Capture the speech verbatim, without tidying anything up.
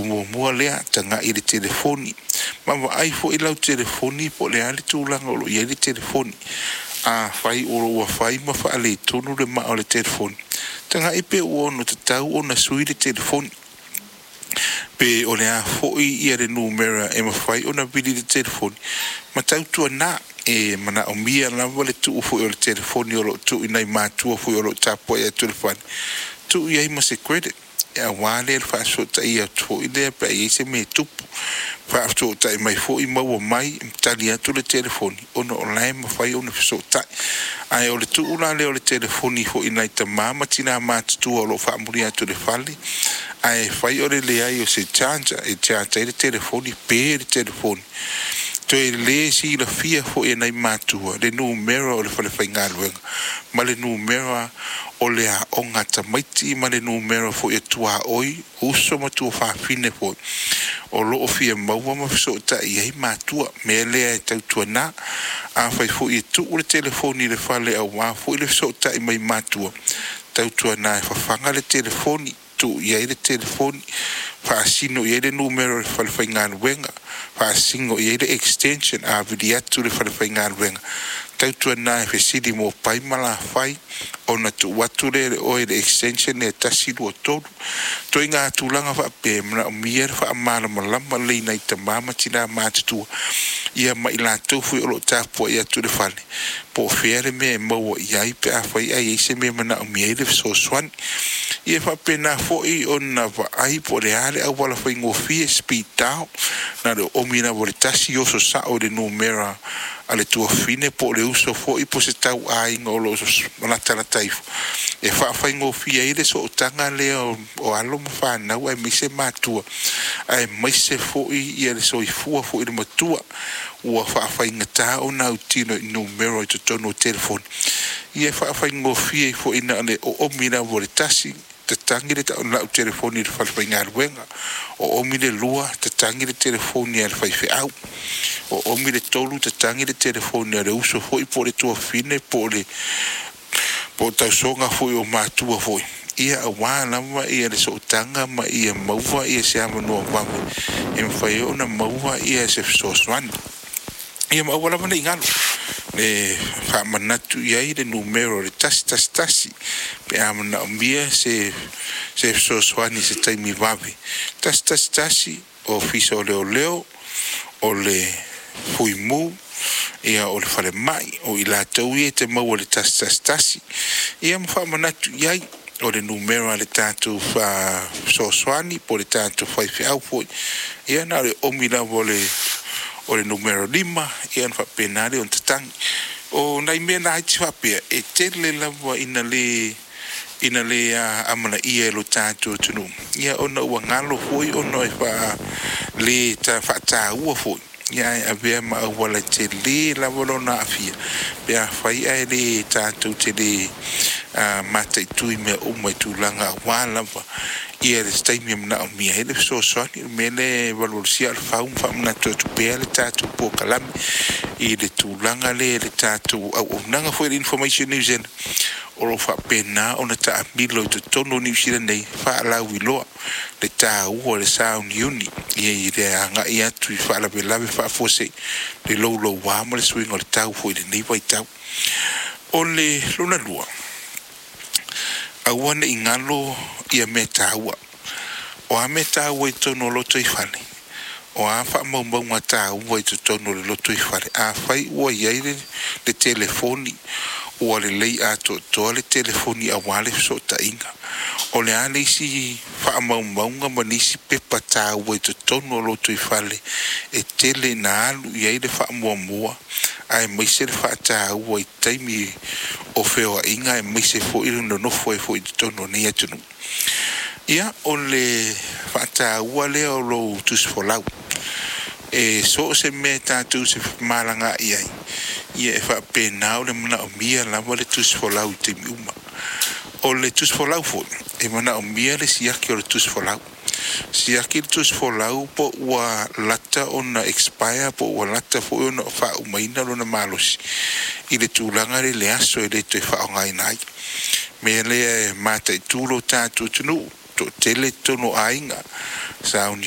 Mataupu muamua lea, tagai i le telefoni ma vaai foi lau telefoni po o le a le tulaga o lo o i ai le telefoni. Afai o lo o ua fai ma faaletonu le maa o le telefoni, tagai pe ua ono tatau ona sui le telefoni, pe o le a foi ia le numera e mafai ona vili le telefoni ma tautuana e manaomia lava le tuu foi o le telefoni o lo o tuu i nai matua foi o lo o tapuai atu i le fale, tuu i ai ma se credit aua lea le faafesootai atu foi lea pe a i ai se mea e tupu, faafesootai mai foi maua mai tali atu le telefoni ona o la e mafai ona fesootai. Ae o le tuu la lea o le telefoni foi i nai tama ma tina matutua o lo o faamuli atu i le fale, ae fai o le leai o se charger e charge ai le telefoni, pe le telefoni, toe le silafia foi e nai matua le numera o le falefaigaluega ma le numera o le aoga a tamaiti ma le numera foi e tuaoi uso ma tuafafine foi o lo o fia maua ma fesootai i ai matua. Mea lea e tautuana, afai foi e tuu le telefoni i le fale aua foi le fesootai mai matua, tautuana e fafaga le telefoni, tuu i ai le telefoni, faasino i ai le numera o le falefaigaluega, faasino i ai le extension a vili atu le falefaigaluega, tautuana e fesili mo pai ma lafai ona tuu atu lea e le oe le extension e tasi lua tolu. Ituaiga tulaga faapea e manaomia le faamalamalama lelei i nai tama ma tina matutua ia ma i latou foi o lo o tapuai atu i le fale po o fea le mea e maua i ai pe afai ae i ai se mea e manaomia ai le fesoasoani. Ia e faapena foi ona vaai po o le a le auala faigofie, speed dial, na o le oomi lava o le tasi oso sao i le numera a le tuafafine po o le uso foi po o se tauaiga o lo o latalata ifo e faafaigofie ai le sootaga lea o alo ma fanau aemaise matua aemaise foi ia le soifua foi i le matua ua faafaigata ona autino i numera i totonu o telefoni. Ia e faafaigofie ai foi na o le oomi lava o le tasi, tatagi le lau telefoni i le falefaigaluega, oomi le lua, tatagi le telefoni a le faifeau, oomi le tolu, tatagi le telefoni a le uso foi po o le tuafafine po o le po o tausoga foi o matua foi, ia aua lava ia le sootaga ma ia maua ia se avanoa vave e mafai ai ona maua ia se fesoasoani. Ia ma aua lava ne i galo le faamanatu i ai le numera o le tasi tasi tasi pe a manaomia se se fesoasoani i se taimi vave. Tasi tasi tasi, Ofisa o Leoleo, o le Fuimu, ia o le falemai, o i latou ia e te maua i le tasi tasi tasi. Ia ma faamanatu i ai o le numera a le tatou fesoasoani po o le tatou faifeau foi, ia na o le oomi lava o le o le numera lima, ia ona faapena lea ona tatagi. O nai mea laiti faapea e tele lava ina le ina le amanaia e lo tatou atunuu, ia ona ua galo foi ona e faa le faataua foi, ia ae avea ma auala tele lava lona aafia pe afai ae le tatou te le mataitu i mea uma i tulaga aua lava ia le taimi e manaomia ai le fesoasoani. O le mea lea e valuvalusia aa o le fau ma faamanatu atu pea le tatou polokalame i le tulaga lea i le tatou auaunaga foi a le Information New Zealand o lo o faapena ona taamilo i totonu o Niu Sila nei faalauiloa le taua o le sauniuni i le agai atu i faalavelave faafuasei le louloua ma le suiga o le tau foi i lenei vaitau. O le lona lua, aua ne i galo ia mea taua. O a mea taua i totonu o lotoifale, o a faamaumauga taua i totonu o le lotoifale, afai ua i ai le, le telefoni ua lelei atoatoa le telefoni aua le fesootaiga, o le a le isi faamaumauga ma nisi pepa taua i totonu o lotoifale e tele ina alu i ai le faamuamua aemaise le faataua i taimi o feoaiga aemaise foi le nonofo ai foi i totonu o nei atunuu. Ia, o le faataua lea o lou tusifolau. E so o se mea tatou te femalagaai ai, ia e faapena o le manaomia lava le tusifolau i taimi uma. O le tusifolau foi, e manaomia le siaki o le tusifolau. Siaki le tusifolau po ua lata ona expire po ua lata foi ona faaumaina lona malosi i le tulaga lea i le aso e le toe faaaogaina ai. Mea lea e mataitu lo tatou atunuu, toatele totonu o aiga, sauni